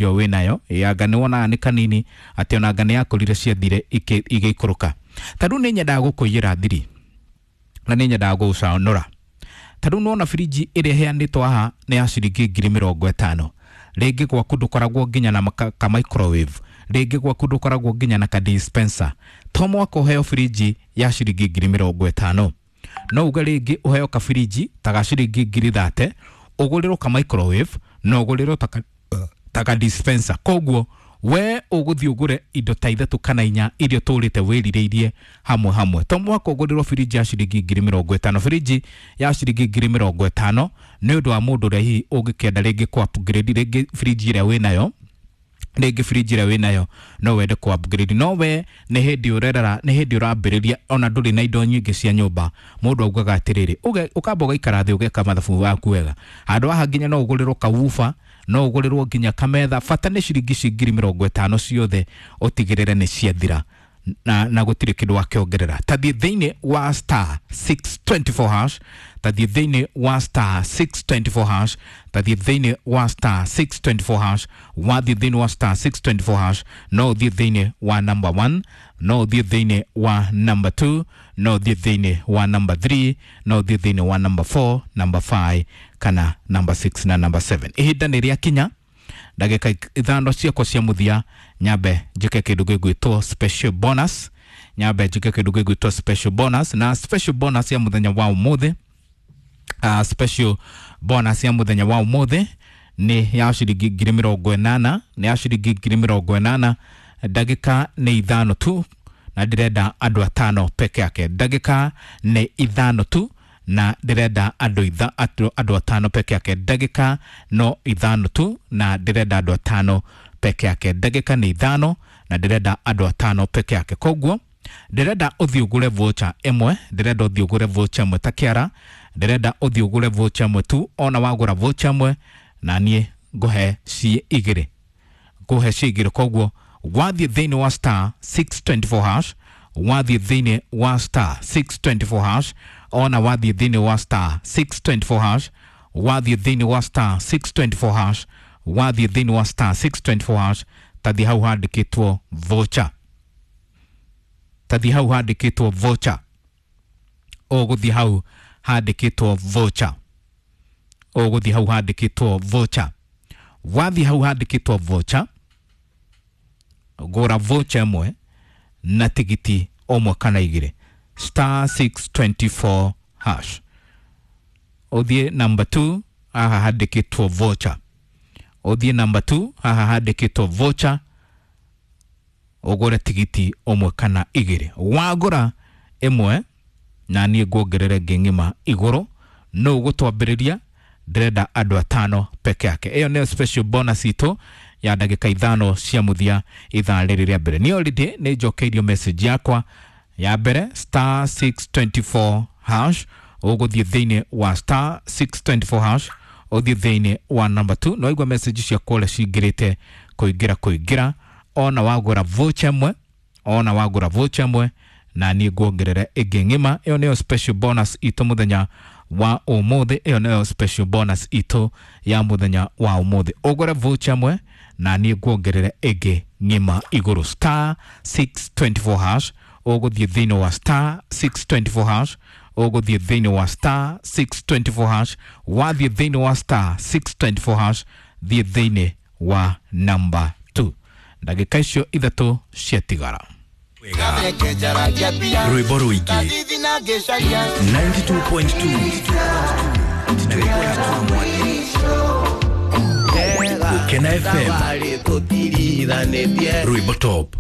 Yo wĩnayo anga nĩ wonaga nĩ kanini atĩ ona anga nĩ yakũrire ciathire igĩikũrũka. Ta rĩu nĩ nyendaga gũkũiyĩra thiri na nĩ nyendaga gũgũcanũra. Ta rĩu nĩwona birinji ĩrĩa ĩheanĩtwo haha nĩ ya ciringi 50,000. Rĩngĩ gwaku ndũkoragwo nginya na ka microwave, rĩngĩ gwaku ndũkoragwo nginya na ka dispenser. To mwaka ũheo birinji ya ciringi 50,000. No uge rĩngĩ ũheo kabirinji ta ga ciringi 30,000, ũgũrĩrwo ka microwave na ũgũrĩrwo ta ka dispenser. Koguo we ũgũthiĩ ũgũre indo ta ithatũ kana inya iria ũtũrĩte wĩrirĩirie hamwe hamwe. To mwaka ũgũrĩrwo birinji ya ciringi 50,000. Birinji ya ciringi 50,000 nĩ ũndũ wa mũndũ ũrĩa hihi ũngĩkĩenda rĩngĩ kũ upgrade rĩngĩ birinji ĩrĩa wĩnayo, rĩngĩ birinji ĩrĩa wĩnayo no wende kũ upgrade, no we nĩ hĩndĩ ũrerera, nĩ hĩndĩ ũrambĩrĩria, ona ndũrĩ na indo nyingĩ cia nyũmba. Mũndũ augaga atĩrĩrĩ, ũkamba ũgaikara thĩ ũgeka mathabu waku wega. Handũ haha nginya no ũgũrĩrwo kawuba, no ũgũrĩrwo nginya kametha, bata nĩ ciringi ci 50,000 ciothe ũtigĩrĩre nĩ ciathira na gũtirĩ kĩndũ wakĩongerera. Tathiĩ thĩinĩ wa star 624 hash, tathiĩ thĩinĩ wa star 624 hash, tathiĩ thĩinĩ wa star 624 hash. Wathiĩ thĩinĩ wa star 624 hash, no ũthiĩ thĩinĩ wa number 1, no ũthiĩ thĩinĩ wa number 2, no ũthiĩ thĩinĩ wa number 3, no ũthiĩ thĩinĩ wa number 4, number 5 kana number 6 na number 7. Ihinda nĩ rĩakinya ndagĩka ithano ciakwa cia mũthia, nyambe njĩke kĩndũ gĩgwĩtwo special bonus, nyambe njĩke kĩndũ gĩgwĩtwo special bonus. Na special bonus ya mũthenya wa ũmũthĩ, special bonus ya mũthenya wa ũmũthĩ nĩ ya ciringi 80,000, nĩ ya ciringi 80,000. Ndagĩka nĩ ithano tu na ndĩrenda andũ atano peke yake. Ndagĩka nĩ ithano tu na ndĩrenda andũ atano peke yake. Ndagĩka no ithano tu na ndĩrenda andũ atano peke yake. Ndagĩka nĩ ithano na ndĩrenda andũ atano peke yake. Koguo ndĩrenda ũthiĩ ũgũre voucher ĩmwe, ndĩrenda ũthiĩ ũgũre voucher ĩmwe ta kĩara, ndĩrenda ũthiĩ ũgũre voucher ĩmwe tu. Ona wagũra voucher ĩmwe na niĩ ngũhe ciĩ igĩrĩ, ngũhe ciĩ igĩrĩ. Koguo wathiĩ thĩinĩ wa star 624 hash, wathiĩ thĩinĩ wa star 624 hash, ona wathiĩ thĩinĩ wa star 624 hash, wathiĩ thĩinĩ wa star 624 hash, wathiĩ thĩinĩ wa star 624 hash, tathiĩ hau handĩkĩtwo voucher, tathiĩ hau handĩkĩtwo voucher, ũgũthiĩ hau handĩkĩtwo voucher, ũgũthiĩ hau handĩkĩtwo voucher. Wathiĩ hau handĩkĩtwo voucher, gũra voucher ĩmwe na tigiti ũmwe kana igĩrĩ, star 624 hash. Ũthiĩ number 2 haha handĩkĩtwo voucher, ũthiĩ number 2 haha handĩkĩtwo voucher, ũgũre tigiti ũmwe kana igĩrĩ. Wagũra ĩmwe na niĩ nguongerere ĩngĩ ng'ima igũrũ, no ũgũtwambĩrĩria. Ndĩrenda andũ atano peke yake. Ĩyo nĩyo special bonus itũ ya ndagĩka ithano cia mũthia ithaa rĩrĩ rĩa mbere. Niĩ already nĩ njokeirio message yakwa ya mbere, star 624 hash. Ũgũthiĩ thĩinĩ wa star 624 hash, ũthiĩ thĩinĩ wa number 2. No igua message ciakwa ũrĩa cingĩrĩte kũingĩra kũingĩra. Ona wagũra voucher ĩmwe, ona wagũra voucher ĩmwe na niĩ nguongerere ĩngĩ ng'ima. Ĩyo nĩyo special bonus itũ mũthenya wa ũmũthĩ. Ĩyo nĩyo special bonus itũ ya mũthenya wa ũmũthĩ. Ũgũre voucher ĩmwe na niĩ nguongerere ĩngĩ ng'ima igũrũ. Star 624 hash, ũgũthiĩ thĩinĩ wa star 624 hash, ũgũthiĩ thĩinĩ wa star 624 hash. Wathiĩ thĩinĩ wa star 624 hash, thiĩ thĩinĩ wa number 2. Ndagĩka icio ithatũ ciatigara. Rwĩmbo rũingĩ 92.2 Gũkena FM, rwĩmbo top.